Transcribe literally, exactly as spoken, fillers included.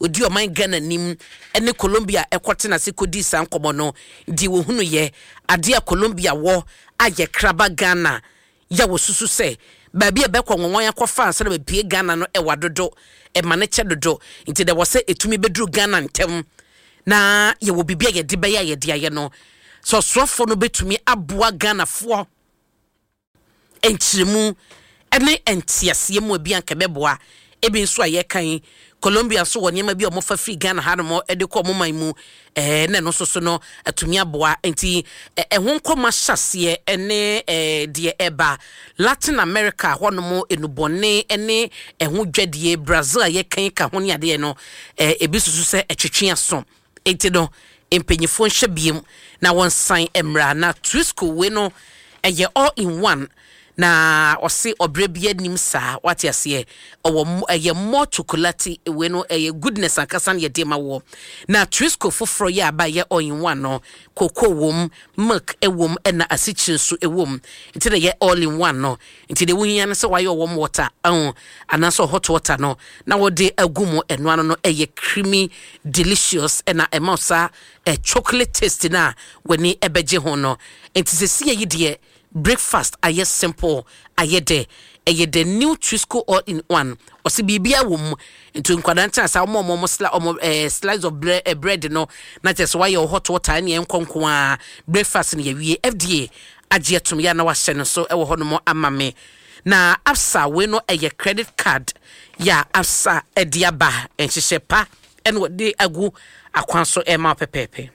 Odi ɔman Ghana anim ne Colombia ɛkɔtena ase kɔdi saa nkɔmmɔ no di wɔhunu yɛ adeɛ a Colombia wɔ ayɛ kraba Ghana yɛ wɔ susu sɛ baabi a bɛkɔ nwɔnwɔn akɔfa ansa na bɛpie Ghana no ɛwɔ dodo, ɛma ne kyɛ dodo, nti dɛ wɔ sɛ ɛtumi bɛduru Ghana ntɛm na yɛwɔ biribi a yɛde bɛyɛ a yɛde ayɛ no sɛ ɔsoafoɔ no bɛtumi aboa Ghanafoɔ nkyerɛmu ne nteaseɛ mu ebi anka bɛboa. Ebi nso a yɛkan Colombia nso wɔ nneɛma bi a wɔfa firi Ghana hanom de kɔ ɔmo man mu ɛɛ na ɛno nso so no atumi aboa. Nti ɛho nkɔmɔ ahyɛseɛ ne ɛɛ deɛ ɛba Latin America hɔnom, enubɔne ne ɛho dwadie, Brazil a yɛkan ka ho ne adeɛ no, ɛɛ ebi soso sɛ ɛtwitwi aso. Nti no mpanyinfoɔ nhyɛ biem na wɔnsan mmra na Twisco wei no ɛyɛ all in one na ɔse ɔbrɛ bi anim saa, wate aseɛ? Ɔwɔ ɛyɛ more chocolate. Wei no ɛyɛ goodness ankasa no yɛde ma wɔ na Twisco foforɔ yɛ aba yɛ all in one no, cocoa wom, milk ɛwom, ɛna asikyire nso ɛwom, nti na yɛ all in one no. Nti deɛ wohia no sɛ wayɛ warm water ɛho anaasɛ hot water no na wɔde agu mu. Ɛno ano no ɛyɛ creamy, delicious, ɛna ɛma saa ɛ chocolate taste na w'ani ɛbɛgye ho no. Nti sɛ sie yi deɛ, breakfast ayɛ simple, ayɛ dɛ. Ɛyɛ the new Twisco all in one. Ɔsi biribiara wɔ mu, nti nkwadaa nkyɛn asa ɔmo ɔmo ɔmo sli ɔmo ɛɛ slice of bread, eh, bread no na kyerɛ sɛ wayɛ hot water ɛne ɛnkɔ a breakfast no yɛwie. F D A agye atum yɛ na wahyɛ no so ɛwɔ hɔnom ama me. Na Absa wei no ɛyɛ credit card yɛ a Absa ɛde aba, nhyehyɛ pa ɛna wɔde agu akwan so ɛma pɛpɛɛpɛ.